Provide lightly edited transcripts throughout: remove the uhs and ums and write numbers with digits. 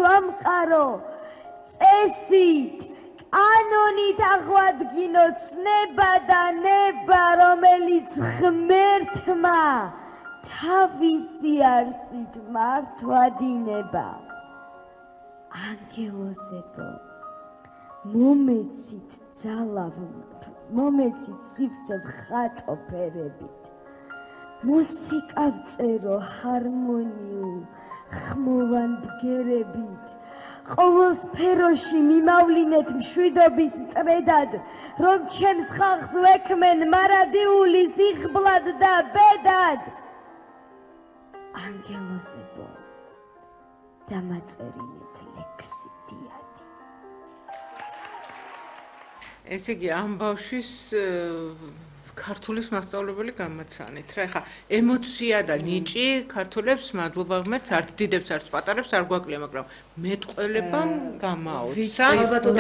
ვამყარო წესით კანონით აღვადგინო ცნება და ნება რომელიც ღმერთმა თავისი არსით მართვადინება ანგელოზებო მომეცით ძალავ მომეცით სივრცე ხატო ფერებით მუსიკა ვწერო ჰარმონიულ ხმოვან ბგერებით ყოველ სფეროში მიმავლინეთ მშვიდობის მტრედად რომ ჩემს ხალხს ვექმენ მარადიული სიხბლად და ბედად ანგელოზებო დამაწერინეთ ლექსი დიადი ესე იგი ამ ბავშვის ქართულის მასწავლებელი გამაცანით რა ეხა ემოცია და ნიჭი ქართულებს მადლობა ღმერთს არც დიდებს არც პატარებს არ გვაკლია მაგრამ მეტყველებამ გამაოცა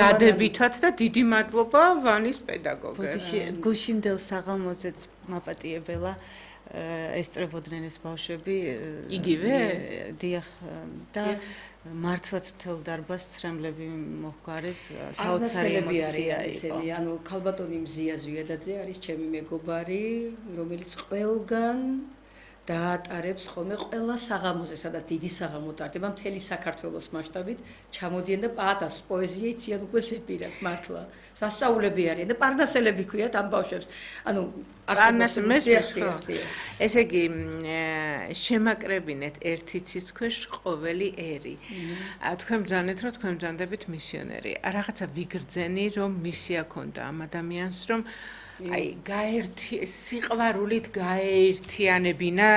დადებითად და დიდი მადლობა ვანის პედაგოგებს გუშინდელ საღამოზეც მაპატიებელა ესწრებოდნენ ეს ბავშვები იგივე დიახ და მართლაც მთელ დარბაზს ცრემლები მოჰგვარეს საოცარი ემოცია იყო ანუ ქალბატონი მზია ზვიადაძე არის ჩემი მეგობარი რომელიც ყველგან დაატარებს ხოლმე ყველა საღამოზე სადაც დიდი საღამო ტარდება მთელი საქართველოს მასშტაბით ჩამოდიან და პაატას პოეზია იციან უკვე ზეპირად მართლა სასწაულები არიან და პარნასელები ქვიათ ამ ბავშვებს ანუ ესე იგი შემაკრებინეთ ერთი ცის ქვეშ ყოველი ერი თქვენ ბრძანეთ რომ თქვენ ბრძანდებით მისიონერი რაღაცა ვიგრძენი რომ მისია ქონდა ამ ადამიანს რომ აი გაერთი სიყვარულით გაერთიანებინა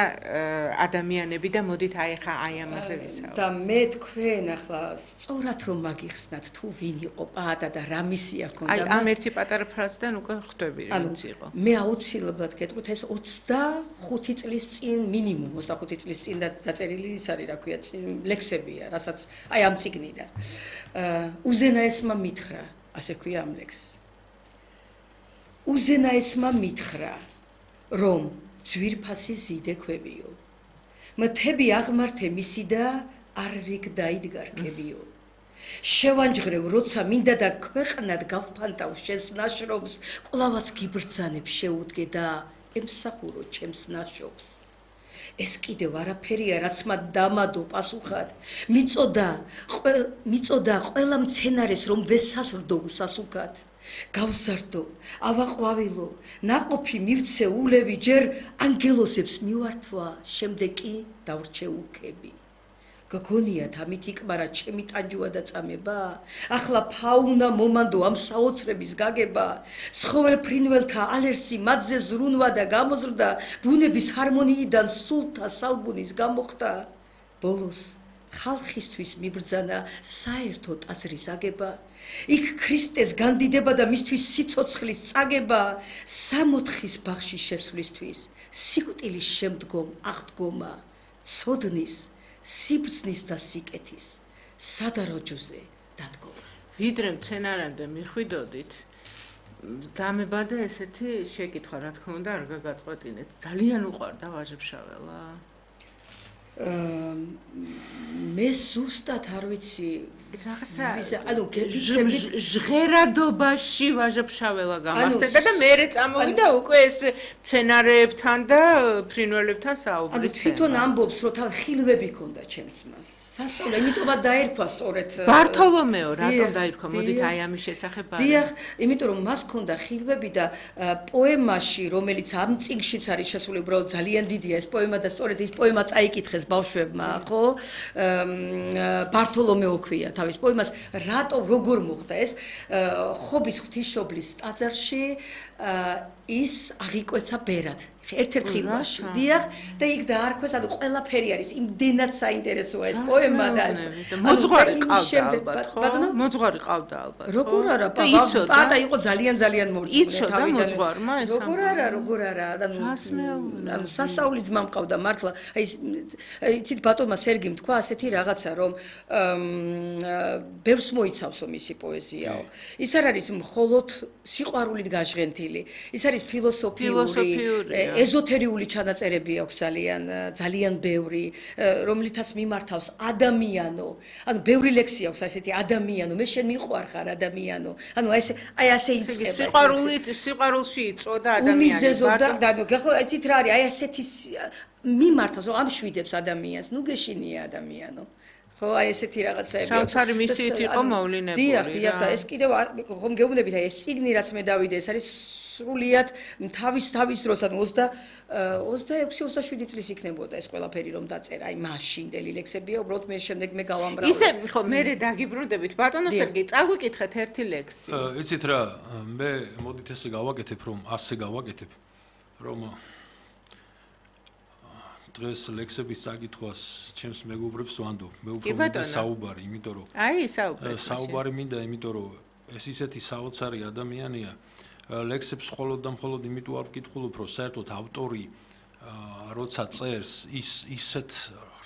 ადამიანები და მოდით აი ხა აი ამაზე ვისაუბროთ და მე თქვენ ახლა სწორად რომ მაგიხსნათ თუ ვინ იყო პაატა და რა მისია ქონდა აი ამ ერთი პატარა ფრაზიდან უკვე ხვდები ვინც იყო მე აუცილებლად გეტყვით ეს 25 წლის წინ მინიმუმ 25 წლის წინ დაწერილი ის არის რა ქვია ლექსებია რასაც აი ამ წიგნიდან უზენაესმა მითხრა ასე ქვია ამ ლექსს უზენაესმა მითხრა, რომ ძვირფასი ზიდე ქვევიო. მთები აღმართე მისი და არ რიგ დაიდგარკებიო. შევანჯღრევ, როცა მინდა და ქვეყნად გავფანტავ შენს ნაშრომს, კვლავაც გიბრძანებ შეუდგე და ემსახურო ჩემს ნაშრომს. ეს კიდევ არაფერია, რაც მათ დამადო პასუხად. მიწოდა ყველა მცენარეს, რომ ვესაზრდო უსასუქად. გავზარდო, ავაყვავილო, ნაყოფი მივცე ულევი, ჯერ ანგელოზებს მივართვა, შემდეგ კი დავრჩე უქები. გგონიათ ამით იკმარა ჩემი ტანჯვა და წამება, ახლა ფაუნა მომანდო ამ საოცრების გაგება, ცხოველ ფრინველთა ალერსი მათზე ზრუნვა და გამოზრდა, ბუნების ჰარმონიიდან სულთა სალბუნის გამოხდა, ბოლოს ხალხისთვის მიბრძანა საერთო ტაძრის აგება. იქ ქრისტეს განდიდება და მისთვის სიცოცხლის წაგება, სამოთხის ბაღში შესვლისთვის, სიკვდილის შემდგომ აღდგომა, ცოდნის, სიბრძნის და სიკეთის, სადაროჯოზე დადგომა. ვიდრე მცენარემდე მიხვიდოდით, დამებადა ესეთი შეკითხვა, რა თქმა უნდა, არ გაგაწყვეტინეთ. ძალიან უყვარდა ვაჟებშაველა. მე ზუსტად არ ვიცი რაღაცა ანუ გეცებით ჟღერადობაში ვაჟებშაველა გამარსება და მერე წამოვიდა უკვე ეს მცენარეებთან და ფრინველებთან საუბრის თემა. თვითონ ამბობს რომ თან ხილვები ქონდა ჩემს მას. სასწავლო, იმიტომაც დაერქვა სწორედ ბართოლომეო, რატომ დაერქვა? მოდით აი ამის შესახებ არა. დიახ, იმიტომ რომ მას ქონდა ხილვები და პოემაში, რომელიც ამ წიგნშიც არის შესული, უბრალოდ ძალიან დიდია ეს პოემა და სწორედ ის პოემა წაიკითხეს ბავშვებმა, ხო? ბართოლომეო ქვია თავის პოემას, რატო როგორ მოხდა ეს ხობის ღვთისმშობლის ტაძარში ის აღიკვეცა ბერად. ერთ-ერთ ხილვაში. დიახ, და იქ დაარქვეს, ანუ ყველაფერი არის, იმდენად საინტერესოა ეს პოემა და მოძღვარი ყავდა ალბათ, ხო? მოძღვარი ყავდა ალბათ. როგორ არა, პაატა იყო ძალიან მორწმუნე თავიდან. როგორ არა, ანუ სასწაული ძმა მყავდა მართლა. აი იცით ბატონმა სერგიმ თქვა ასეთი რაღაცა, რომ ბევრს მოიცავსო მისი პოეზიაო. ის არ არის მხოლოდ სიყვარულით გაჟღენთილი, ის არის ფილოსოფიური ეზოთერიული ჩანაწერები აქვს ძალიან ბევრი, რომლითაც მიმართავს ადამიანო. ანუ ბევრი ლექსი აქვს ასეთი ადამიანო, მე შენ მიყვარხარ ადამიანო. ანუ აი ასე იწყება. სიყვარულში იწოდა ადამიანი. გახოთით რა არის? აი ასეთი მიმართავს, რომ ამშვიდებს ადამიანს, ნუ გეშინია ადამიანო. ხო, აი ესეთი რაღაცები. სამსარი მისიით იყო მოვლენები. დიახ, და ეს კიდევ ხომ გეუბნებით, აი ეს წიგნი რაც მე დავიდე, ეს არის სრულიად თავის დროს, ანუ 26-27 წლის იქნებოდა ეს ყველაფერი რომ დაწერა, აი მაშინდელი ლექსებია, უბრალოდ მე შემდეგ მე გავამბრავ. ისე ხო, მე დაგიბრუნდებით, ბატონო სერგეი, წაგვიკითხეთ ერთი ლექსი. იცით რა, მე მოდით ესე გავაკეთებ, რომ დღეს ლექსების საკითხვას ჩემს მეგობრებს ვანდობ. მე უფრო მინდა საუბარი, იმიტომ რომ საუბარი მინდა, იმიტომ რომ ეს ისეთი საოცარი ადამიანია. ლექსებს მხოლოდ და მხოლოდ იმიტომ არ ვკითხულობ, რომ საერთოდ ავტორი როცა წერს, ისეთ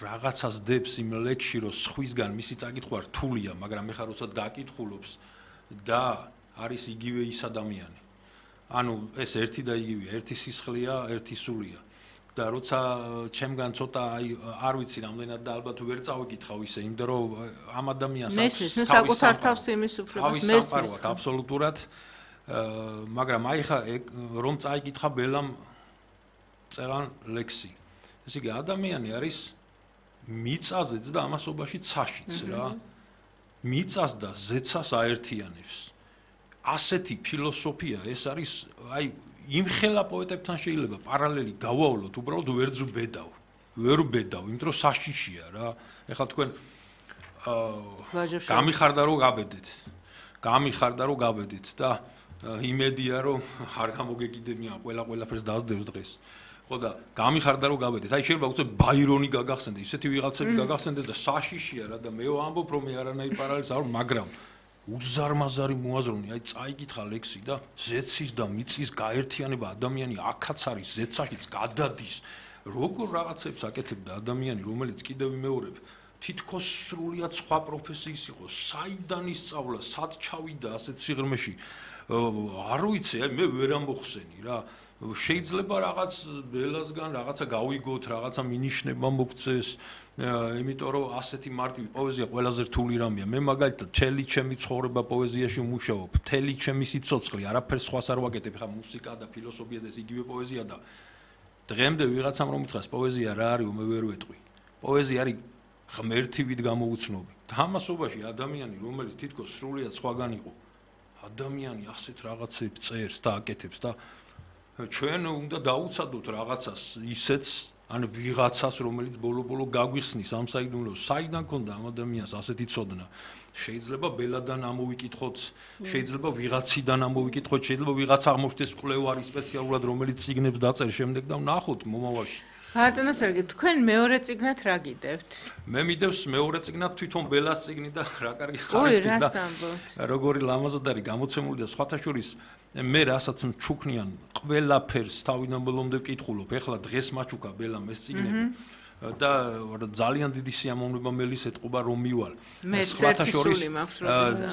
რაღაცას დებს იმ ლექსში, რომ სხვისგან მისი საკითხვა რთულია, მაგრამ ეხლა როცა დაკითხულობს და არის იგივე ის ადამიანი. ანუ ეს ერთი და იგივეა, ერთი სისხლია, ერთი სულია. და როცა ჩემგან ცოტა არ ვიცი რამდენად და ალბათ ვერ წავიკითხავ ისე, იმიტომ რომ ამ ადამიანს მესმის, საკუთარ თავს იმის უფლებას მესმის აბსოლუტურად, მაგრამ აი ხა რომ წაიკითხა ბელამ წერან ლექსი. ესე იგი ადამიანი არის მიწაზეც და ამასობაში ცაშიც რა. მიწას და ზეცას აერთიანებს. ასეთი ფილოსოფია ეს არის აი იმხელა პოეტებთან შეიძლება პარალელი გავავლოთ, უბრალოდ ვერ ვბედავ, იმიტომ რომ საშიშია რა. ეხლა თქვენ გამიხარდა რომ გაბედით და იმედია რომ არ გამოგეკიდებია ყველაფერს დაძდევს დღეს. ხო და გამიხარდა რომ გაბედით. აი შეიძლება უცებ ბაირონი გაგახსენდე, ისეთი ვიღაცები გაგახსენდეს და საშიშია რა და მე ვამბობ რომ მე არანაირ პარალელს არ, მაგრამ უზარმაზარი მოაზროვნე, აი წაიკითხა ლექსი და ზეცის და მიწის გაერთიანება ადამიანი აქაც არის, ზეცაშიც გადადის. როგორ რაღაცებს აკეთებდა ადამიანი, რომელიც კიდევ ვიმეორებ, თითქოს სრულიად სხვა პროფესიის იყო, საიდან ისწავლა, სად ჩავიდა ასეთ სიღრმეში. არ ვიცი, მე ვერ ამბოხსენი რა. შეიძლება რაღაც ბელასგან რაღაცა გავიგოთ, რაღაცა მინიშნება მოგწეს. იმიტომ რომ ასეთი მარტივი პოეზია ყველაზე რთული რამეა. მე მაგალითად მთელი ჩემი ცხოვრება პოეზიაში ვმუშაობ, მთელი ჩემი სიცოცხლე, არაფერს სხვას არ ვაკეთებ, ხა მუსიკა და ფილოსოფია და ეს იგივე პოეზია და დღემდე ვიღაცამ რომ უთხრას პოეზია რა არის, მე ვერ ვეტყვი. პოეზია არის ღმერთივით გამოუცნობი. თამასობაში ადამიანი, რომელიც თითქოს სრულიად სხვაგან იყო, ადამიანი ასეთ რაღაცებს წერს და აკეთებს და ჩვენ უნდა დაუცადოთ რაღაცას ისეც ან ვიღაცას, რომელიც ბოლო-ბოლო გაგვიხსნის ამ საიდუმლოს, საიდან ქონდა ამ ადამიანს ასეთი ცოდნა. შეიძლება ბელადან ამოვიკითხოთ, შეიძლება ვიღაციდან ამოვიკითხოთ, შეიძლება ვიღაც აღმოჩნდეს კვლევარი სპეციალურად, რომელიც წიგნებს დაწერს შემდეგ და ვნახოთ მომავალში. ბატონო სერგეი, თქვენ მეორე წიგნად რა გიდევთ? მე მიდევს მეორე წიგნად თვითონ ბელას წიგნი და რა კარგი ხარისხი და როგორი ლამაზად არის გამოცემული და სხვათა შორის მე რასაც მჩუქნიან ყველაფერს თავიდან ბოლომდე ვკითხულობ. ეხლა დღეს მაჩუქა ბელამ ეს წიგნები და ძალიან დიდი სიამოვნება მელის ეთყობა რომ მივალ. სხვათა შორის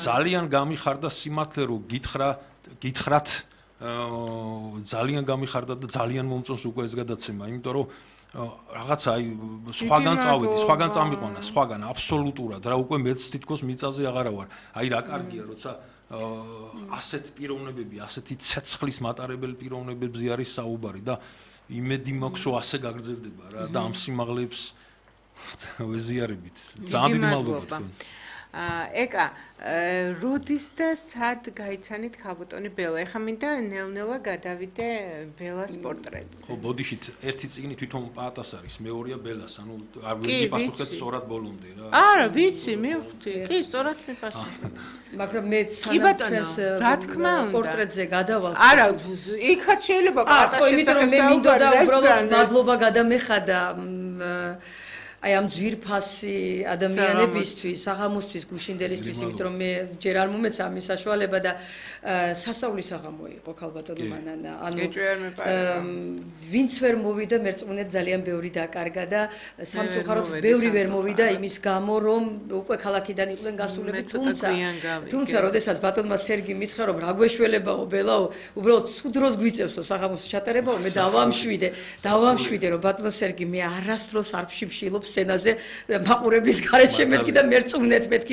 ძალიან გამიხარდა სიმართლე რომ გითხრათ ძალიან გამიხარდა და ძალიან მომწონს უკვე ეს გადაცემა, იმიტომ რომ რაღაცა აი სხვაგან წავედი, სხვაგან წამიყვანა, სხვაგან აბსოლუტურად რა უკვე მეც თითქოს მიწაზე აღარა ვარ. აი რა კარგია, როცა ასეთ პიროვნებები, ასეთი ცეცხლის მატარებელი პიროვნებებზე არის საუბარი და იმედი მაქვს რომ ასე გაგრძელდება რა და ამ სიმაღლეებს ვეზიარებით. ძალიან დიდი მადლობა თქვენ. ეკა, როდის და სად გაიცანით ქალბატონი ბელა? ეხლა მინდა ნელ-ნელა გადავიდე ბელას პორტრეტზე. ხო, ბოდიშით ერთი წიგნი თვითონ პაატას არის, მეორეა ბელას, ანუ არ ვიცი პასუხეთ სწორად ბოლომდე რა. არა, ვიცი, მივხვდი. კი, სწორად მიფასუხე. მაგრამ მე სანამ რა თქმა უნდა პორტრეტზე გადავალ. არა, იქაც შეიძლება პაატას ხო, იმიტომ რომ მე მინდოდა უბრალოდ მადლობა გადამეხადა აი ამ ძვირფასი ადამიანებისთვის, საღამოსთვის, გუშინდელისთვის, იმიტომ რომ მე ჯერ არ მომეცა ამის საშუალება და სასწაულის საღამო იყო ქალბატონო მანანა. ანუ ვინც ვერ მოვიდა მერწმუნედ ძალიან ბევრი დაკარგა და სამწუხაროდ ბევრი ვერ მოვიდა იმის გამო რომ უკვე ქალაქიდან იყვნენ გასულები, თუმცა როდესაც ბატონმა სერგი მითხრა რომ რა გვეშველებაო ბელაო, უბრალოდ სულ დროს გვიწევსო საღამოს ჩატარებაო, მე დავამშვიდე რომ ბატონო სერგი მე არასდროს არ ვშიფშილობ სცენაზე მაყურებლის გარეშე მეთქი და მერწმუნეთ მეთქი რომ